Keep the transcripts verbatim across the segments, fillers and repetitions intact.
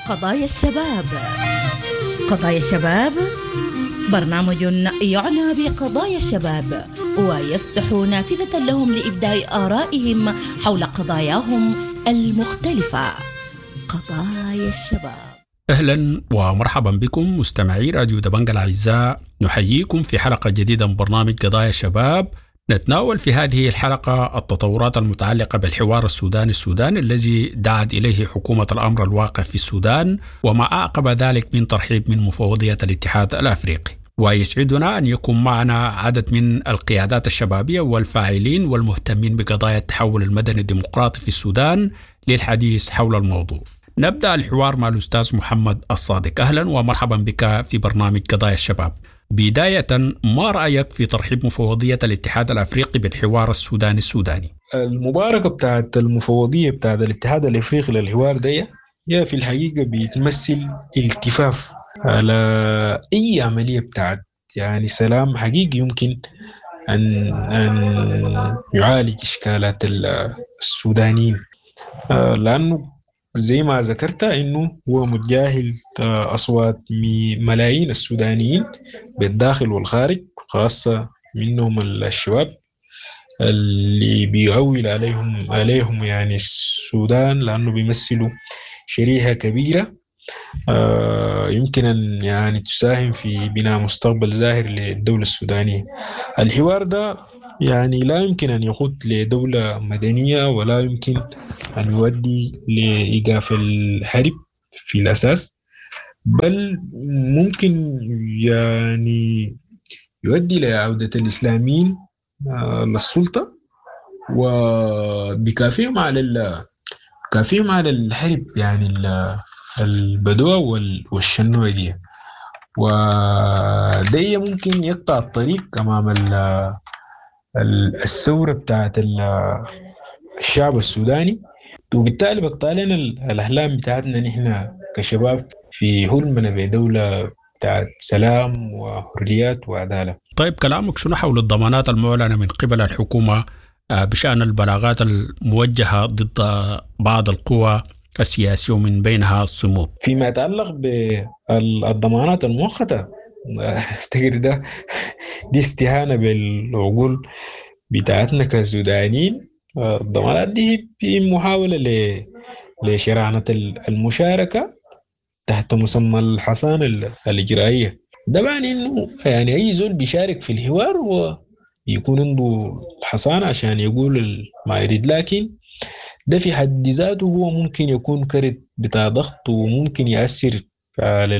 قضايا الشباب. قضايا الشباب برنامج يعنى بقضايا الشباب ويفتح نافذة لهم لإبداء آرائهم حول قضاياهم المختلفة. قضايا الشباب. اهلا ومرحبا بكم مستمعي راديو دبنجة الاعزاء، نحييكم في حلقة جديدة من برنامج قضايا الشباب. نتناول في هذه الحلقة التطورات المتعلقة بالحوار السوداني السوداني الذي دعت إليه حكومة الأمر الواقع في السودان، وما أعقب ذلك من ترحيب من مفوضية الاتحاد الأفريقي. ويسعدنا أن يكون معنا عدد من القيادات الشبابية والفاعلين والمهتمين بقضايا التحول المدني الديمقراطي في السودان للحديث حول الموضوع. نبدأ الحوار مع الأستاذ محمد الصادق. أهلا ومرحبا بك في برنامج قضايا الشباب. بداية، ما رأيك في ترحيب مفوضية الاتحاد الأفريقي بالحوار السوداني السوداني؟ المباركة بتاعت المفوضية بتاعت الاتحاد الأفريقي للحوار دي هي في الحقيقة بتمثل التفاف على أي عملية بتاعت يعني سلام حقيقي يمكن أن أن يعالج إشكالات السودانيين، لأنه زي ما ذكرت انه هو متجاهل اصوات ملايين السودانيين بالداخل والخارج، خاصة منهم الشباب اللي بيعول عليهم عليهم يعني السودان، لانه بيمثلوا شريحة كبيرة يمكن ان يعني تساهم في بناء مستقبل زاهر للدولة السودانية. الحوار ده يعني لا يمكن أن يقود لدولة مدنية، ولا يمكن أن يؤدي لإيقاف الحرب في الأساس، بل ممكن يعني يؤدي لعودة الإسلاميين للسلطة وبكافيهم على كافيهم على الحرب، يعني البدوة والشنوة دي، وده ممكن يقطع الطريق أمام الثورة بتاعت الشعب السوداني، وبالتالي بقطع لنا الأحلام بتاعتنا نحن كشباب في حلمنا بدولة بتاعت سلام وحريات وعدالة. طيب، كلامك شنو حول الضمانات المعلنة من قبل الحكومة بشأن البلاغات الموجهة ضد بعض القوى السياسية ومن بينها الصمود؟ فيما يتعلق بالضمانات المؤقتة، افتكر ده دي استهانة بالعقول بتاعتنا كسودانيين. الضمانات دي في محاولة ل لشرعنة المشاركة تحت مسمى الحصانة الإجرائية. ده معني إنه يعني أي زول بيشارك في الحوار هو يكون عنده الحصانة عشان يقول ما يريد، لكن ده في حد ذاته هو ممكن يكون كرت بتاع ضغط، وممكن يأثر على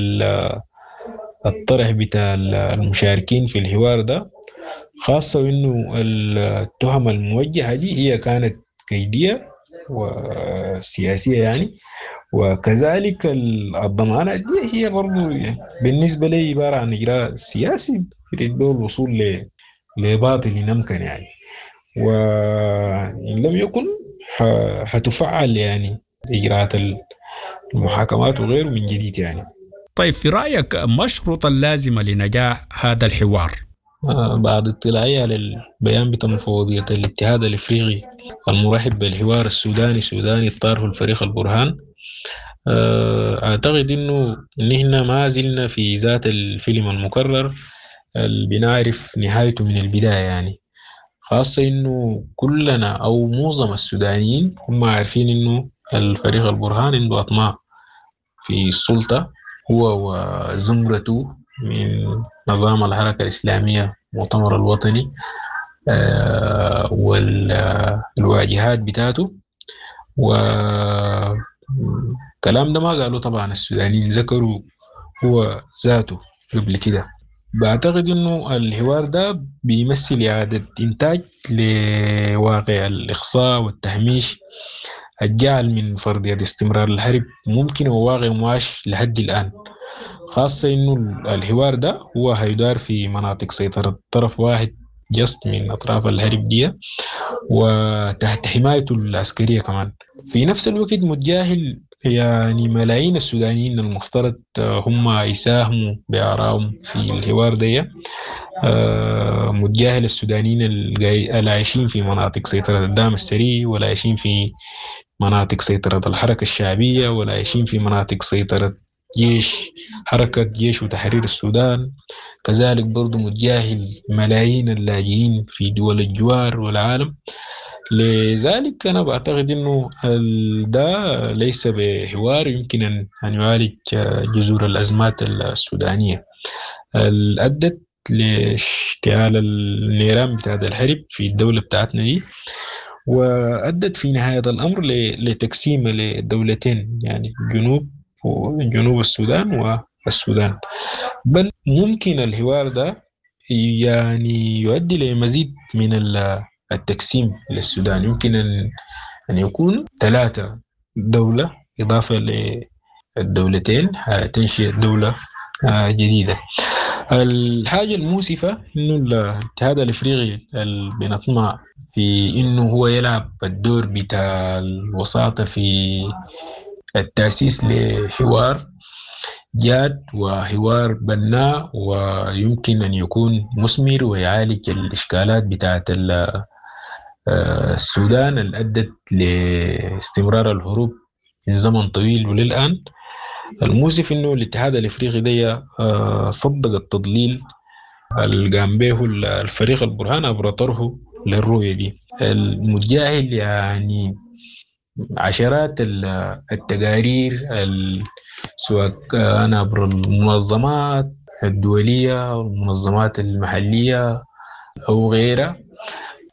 الطرح بتاع المشاركين في الحوار ده، خاصة وإنه التهم الموجهة دي هي كانت كيدية وسياسية يعني، وكذلك الضمانات دي هي برضو يعني بالنسبة لي عبارة عن إجراء سياسي يريد به الوصول لباطل يمكن يعني، وإن لم يكن حتفعل يعني إجراءات المحاكمات وغيره من جديد يعني. طيب، في رأيك ما الشروط اللازمة لنجاح هذا الحوار؟ بعد اطلاعي على البيان بتاع مفوضية الاتحاد الافريقي المرحب بالحوار السوداني السوداني الطارح الفريق البرهان، اعتقد انه نحن ما زلنا في ذات الفيلم المكرر اللي بنعرف نهايته من البداية يعني، خاصة انه كلنا او معظم السودانيين هم عارفين انه الفريق البرهان عنده اطماع في السلطة، هو وزمرته من نظام الحركة الإسلامية المؤتمر الوطني آه والواجهات بتاعته، وكلام ده ما قالوا طبعا السودانيين، ذكروا هو ذاته قبل كده. بعتقد انه الحوار ده بيمثل إعادة إنتاج لواقع الإقصاء والتهميش الجعل من فرضية استمرار الحرب ممكن وواقع معاش لحد الآن، خاصة إنه الحوار ده هو هيدار في مناطق سيطرة طرف واحد جست من أطراف الحرب دي وتحت حمايته العسكرية كمان. في نفس الوقت متجاهل يعني ملايين السودانيين المفترض هم يساهموا بآرائهم في الحوار ده، متجاهل السودانيين العايشين في مناطق سيطرة الدعم السريع، ولا عايشين في مناطق سيطرة الحركة الشعبية، ولا عايشين في مناطق سيطرة جيش حركة جيش وتحرير السودان. كذلك برضو متجاهل ملايين اللاجئين في دول الجوار والعالم. لذلك أنا بعتقد أنه ده ليس بحوار يمكن أن يعالج جذور الأزمات السودانية اللي أدت لاشتعال النيران بتاعت الحرب في الدولة بتاعتنا دي، وأدت في نهاية الأمر لتقسيم لدولتين، يعني جنوب وجنوب السودان والسودان. بل ممكن الحوار ده يعني يؤدي لمزيد من التقسيم للسودان. يمكن أن أن يكون ثلاثة دولة إضافة للدولتين تنشئ دولة جديدة. الحاجة المؤسفة إنه الاتحاد الإفريقي اللي بنطمع في إنه هو يلعب الدور بتاع الوساطة في التأسيس لحوار جاد وحوار بناء ويمكن أن يكون مثمر ويعالج الإشكالات بتاعت السودان اللي أدت لاستمرار الهروب من زمن طويل وللآن. المؤسف إنه الاتحاد الإفريقي ده صدق التضليل اللي قام به الفريق البرهان عبر طرحه للرؤية دي المتجاهل، يعني عشرات التقارير سواء كان عبر المنظمات الدولية والمنظمات المحلية أو غيرها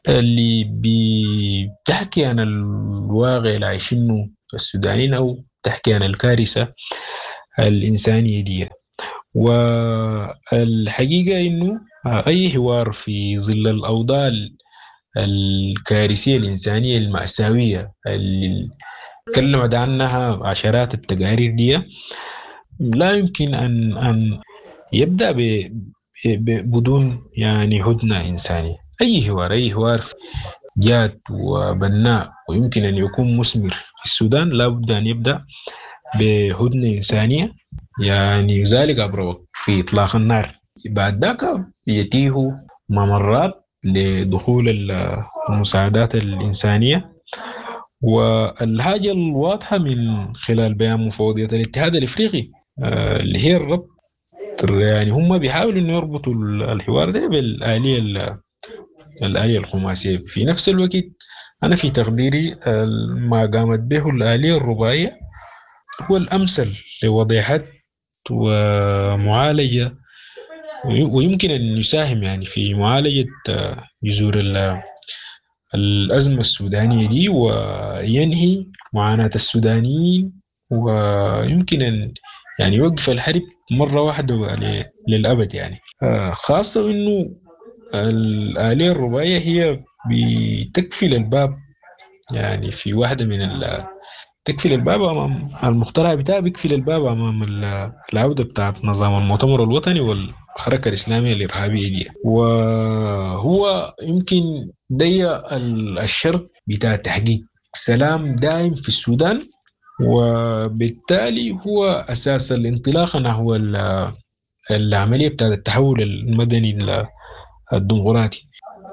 اللي بتحكي عن الواقع اللي عايشينه السودانيين أو تحكي عن الكارثة الإنسانية دي. والحقيقة إنه أي حوار في ظل الأوضاع الكارثية الإنسانية المأساوية اللي تكلمت عنها عشرات التقارير دي لا يمكن أن أن يبدأ ب بدون يعني هدنة إنسانية. أي حوار أي حوار جاد وبناء ويمكن أن يكون مثمر في السودان لا بد أن يبدأ بهدنة إنسانية، يعني ذلك عبر في إطلاق النار. بعد ذاك يتيه ممرات لدخول المساعدات الإنسانية. والحاجة الواضحة من خلال بيان مفوضية الاتحاد الإفريقي اللي هي الربط، يعني هم بيحاولوا إنه يربطوا الحوار ده بالآلية الآلية الخماسية. في نفس الوقت أنا في تقديري ما قامت به الآلية الرباعية هو الأمثل لوضع حد ومعالجة، ويمكن أن يساهم يعني في معالجة جذور الأزمة السودانية دي وينهي معاناة السودانيين، ويمكن أن يعني يوقف الحرب مرة واحدة للأبد يعني. خاصة إنه الآلية الرباعية هي بتكفل الباب، يعني في واحدة من ال تكفل الباب أمام المقترح بتاعه، بيكفل الباب أمام العودة بتاعت نظام المؤتمر الوطني والحركة الإسلامية الإرهابية دي. وهو يمكن دي الشرط بتاع تحقيق سلام دائم في السودان، وبالتالي هو أساس الانطلاق نحو العملية بتاعت التحول المدني الديمقراطي.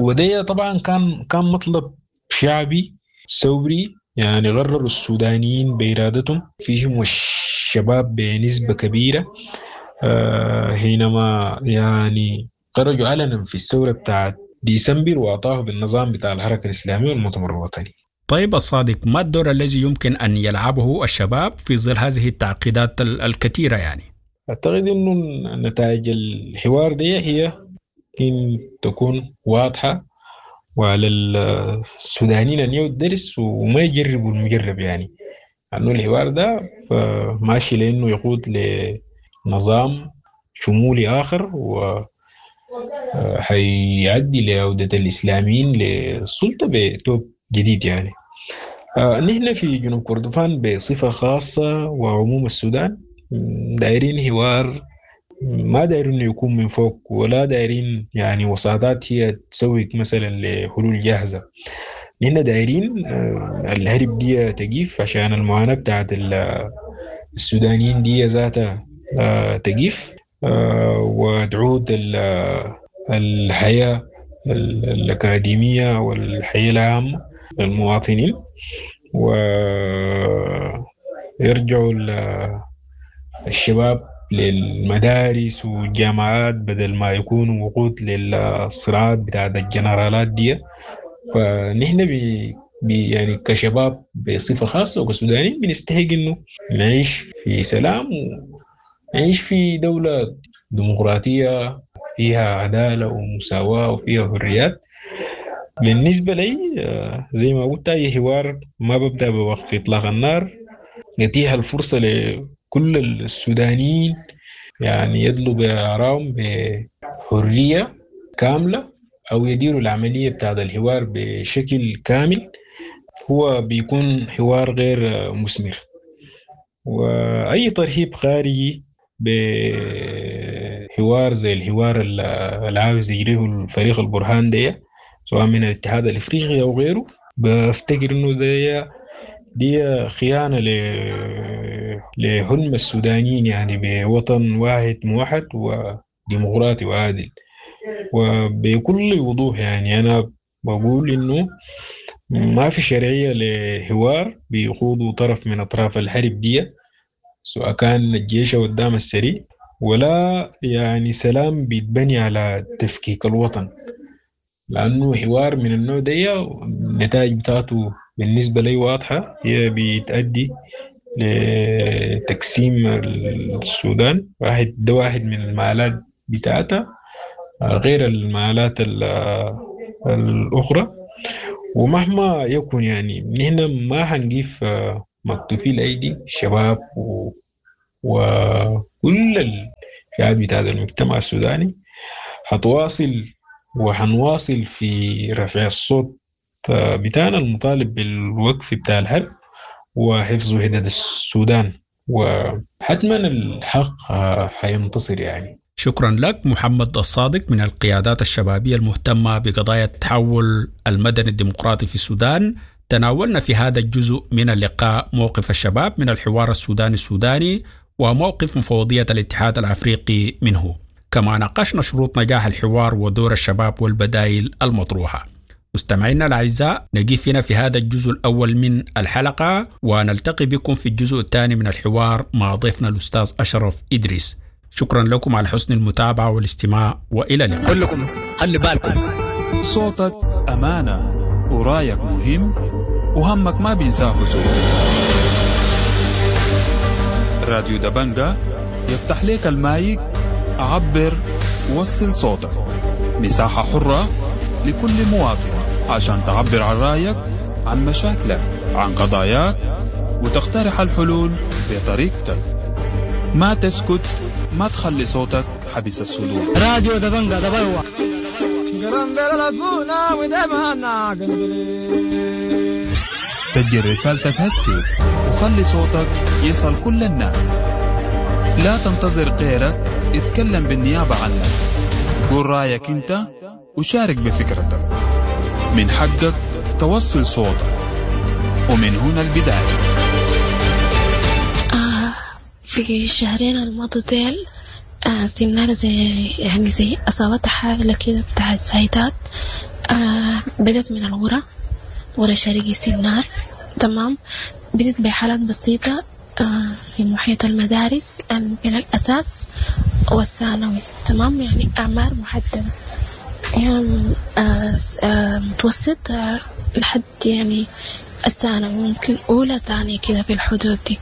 ودي طبعا كان كان مطلب شعبي ثوري، يعني غرروا السودانيين بإرادتهم، فيهم الشباب بنسبة كبيرة حينما يعني خرجوا علنا في الثورة بتاعت ديسمبر وأعطاه بالنظام بتاع الحركة الإسلامية والمؤتمر الوطني. طيب الصادق، ما الدور الذي يمكن أن يلعبه الشباب في ظل هذه التعقيدات الكثيرة؟ يعني أعتقد أنه نتائج الحوار دي هي إن تكون واضحة، وعلى السودانيين أن يودوا الدرس وما يجربوا المجرب، يعني أنه الحوار ده ماشي لأنه يقود لنظام شمولي آخر و حيعدي لعودة الإسلاميين للسلطة بتوب جديد. يعني نحن في جنوب كردفان بصفة خاصة وعموم السودان دايرين حوار، ما دايرين انه يكون من فوق، ولا دايرين يعني وساطات هي تسوق مثلا لحلول جاهزة. نحن دايرين الهرب دي تقيف عشان المعاناة بتاعت السودانيين دي ذاتها تقيف وتعود الحياة الأكاديمية والحياة العامة للمواطنين، ويرجعوا الشباب للمدارس والجامعات بدل ما يكونوا وقود للصراعات بتاعت الجنرالات دي. فنحن بي بي يعني كشباب بصفة خاصة وكسودانيين بنستحق إنه نعيش في سلام ونعيش في دولة ديمقراطية فيها عدالة ومساواة وفيها حريات. بالنسبة لي زي ما قلت، أي حوار ما ببدأ بوقف إطلاق النار، يتيح الفرصة لكل السودانيين يعني يدلوا بآرائهم بحرية كاملة أو يديروا العملية بتاعت الحوار بشكل كامل، هو بيكون حوار غير مثمر. وأي ترهيب خارجي بحوار زي الحوار اللي عاوز يجريه الفريق البرهان ده، سواء من الاتحاد الافريقي او غيره، بفتكر انه ده دي خيانة لحلم السودانيين يعني بوطن واحد موحد وديمقراطي وعادل. وبكل وضوح يعني انا بقول انه ما في شرعية لحوار بيقودوا طرف من اطراف الحرب دي، سواء كان الجيش او الدعم السريع، ولا يعني سلام بيتبني على تفكيك الوطن، لأنه حوار من النوع ده النتائج بتاعته بالنسبة لي واضحة، هي بتأدي لتقسيم السودان. واحد ده واحد من المآلات بتاعتها غير المآلات الأخرى. ومهما يكن يعني نحن ما حنقيف مكتوفي الأيدي، الشباب و... وكل الفئات بتاعت المجتمع السوداني حتواصل وحنواصل في رفع الصوت بتاعنا المطالب بالوقف بتاع الحرب وحفظ وحدة السودان، وحتما الحق حينتصر يعني. شكرا لك محمد الصادق من القيادات الشبابية المهتمة بقضايا التحول المدني الديمقراطي في السودان. تناولنا في هذا الجزء من اللقاء موقف الشباب من الحوار السوداني السوداني وموقف مفوضية الاتحاد الأفريقي منه، كما ناقشنا شروط نجاح الحوار ودور الشباب والبدائل المطروحة. مستمعينا الأعزاء، نقف هنا في هذا الجزء الأول من الحلقة، ونلتقي بكم في الجزء الثاني من الحوار مع ضيفنا الأستاذ أشرف إدريس. شكرا لكم على حسن المتابعة والاستماع، وإلى اللقاء. كلكم خلي بالكم، صوتك أمانة ورايك مهم وهمك ما بينساه زول. راديو دبنجة يفتح لك المايك، عبر، وصل صوتك، مساحة حرة لكل مواطن عشان تعبر عن رأيك، عن مشاكلك، عن قضاياك، وتقترح الحلول بطريقتك. ما تسكت، ما تخلي صوتك حبس الصدور. راديو دبنجة دبلوة. سجل رسالتك هسي وخلي صوتك يصل كل الناس. لا تنتظر غيرك يتكلم بالنيابة عنك. قول رأيك انت وشارك بفكرتك. من حقك توصل صوتك، ومن هنا البداية. آه في الشهرين الماضوا ديل آه سنارة زي يعني زي أصابتها حالة كده بتاعت زايدات. آه بدت من الغرة، غرة شرقي سنار، تمام. بدت بحالات بسيطة آه في محيط المدارس بين الأساس والثانوي، تمام، يعني أعمار محددة، يعني آه آه متوسط آه لحد يعني الثانوي، ممكن أولى ثانية كده في الحدود دي،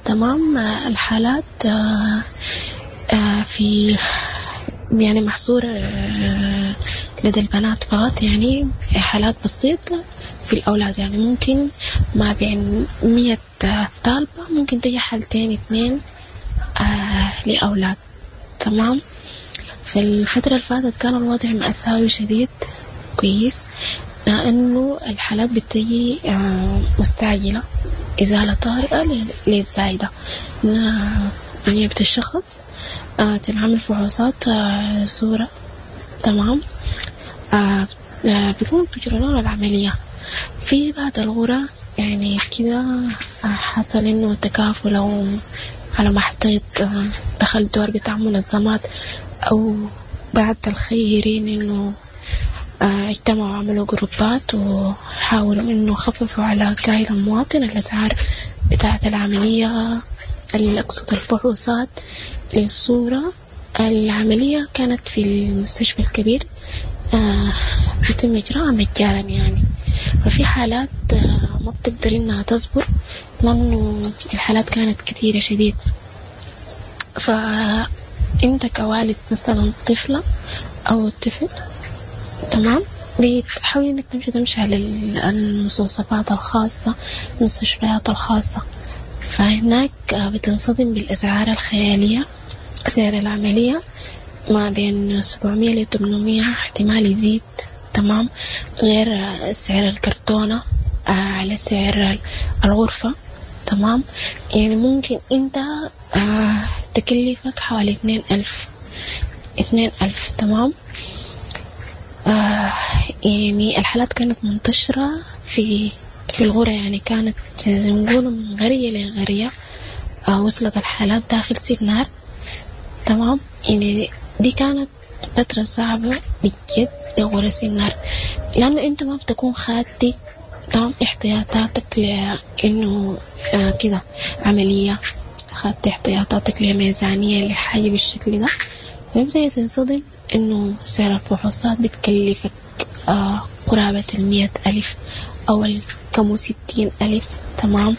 تمام. آه الحالات آه آه في يعني محصورة آه لدى البنات فقط، يعني حالات بسيطة في الأولاد، يعني ممكن ما بين مية طالبة ممكن تجي حالتين اثنين آه لأولاد، تمام. في الفترة اللي فاتت كان الوضع مأساوي شديد كويس، لأنه الحالات بتجي آه مستعجلة، إزالة طارئة للزايدة، نيابة الشخص آه تنعمل فحوصات آه صورة، تمام، آه آه بيكون بيجروا لنا العملية. في بعض الغرى يعني كده حصل إنه تكافل أو على ما أعتقد دخل دور بتاع منظمات أو بعض الخيرين إنه اجتمعوا وعملوا جروبات وحاولوا إنه خففوا على كاهل المواطن الأسعار بتاعة العملية، أقصد الفحوصات للصورة. العملية كانت في المستشفى الكبير آه بيتم إجراءها مجانا يعني. ففي حالات آه ما بتقدر إنها تصبر لأنه الحالات كانت كثيرة شديد. فأنت كوالد مثلا طفلة أو طفل، تمام، بتحاول إنك تمشي تمشي على المستوصفات الخاصة، المستشفيات الخاصة، فهناك بتنصدم بالأسعار الخيالية. سعر العملية ما بين سبعمية لثمانمية، احتمال يزيد، تمام، غير سعر الكرتونة على سعر الغرفة، تمام. يعني ممكن انت تكلفك حوالي اتنين ألف، اتنين ألف، تمام. آه يعني الحالات كانت منتشرة في في الغرة، يعني كانت زي ما نقول من غرية لغرية. آه وصلت الحالات داخل سنار، تمام. يعني دي كانت فترة صعبة بجد لغرة سنار، لأنه أنت ما بتكون خاتي، تمام، احتياطاتك لأنه آه كده عملية، خدت احتياطاتك لميزانية لحاجة بالشكل ده، فبدأ تنصدم إنه سعر الفحوصات بتكلفك آه قرابة المية ألف أو الكم ستين ألف، تمام،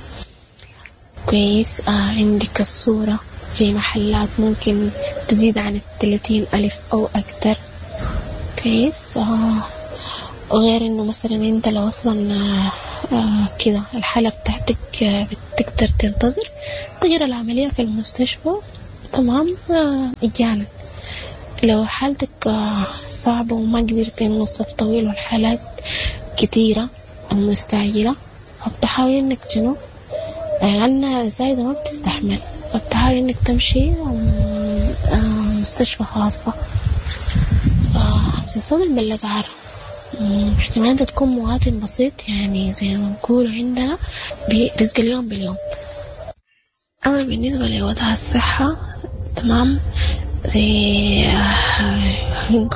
كويس. آه عندك الصورة في محلات ممكن تزيد عن الثلاثين ألف أو أكتر، كويس. آه غير إنه مثلا أنت لو أصلا آه آه كده الحالة بتاعتك آه بتقدر تنتظر تجرى العملية في المستشفى، تمام، آه مجانا. لو حالتك آه صعبة وما قدرت إنه الصف طويل والحالات كتيرة المستعجلة، فبتحاول إنك شنو، لأن الزايدة ما بتستحمل، فبتحاول إنك تمشي مستشفى خاصة، بتنصدم بالأسعار. احتمال أنت تكون مواطن بسيط، يعني زي ما نقول عندنا برزق اليوم باليوم. أما بالنسبة لوضع الصحة، تمام، زي نقول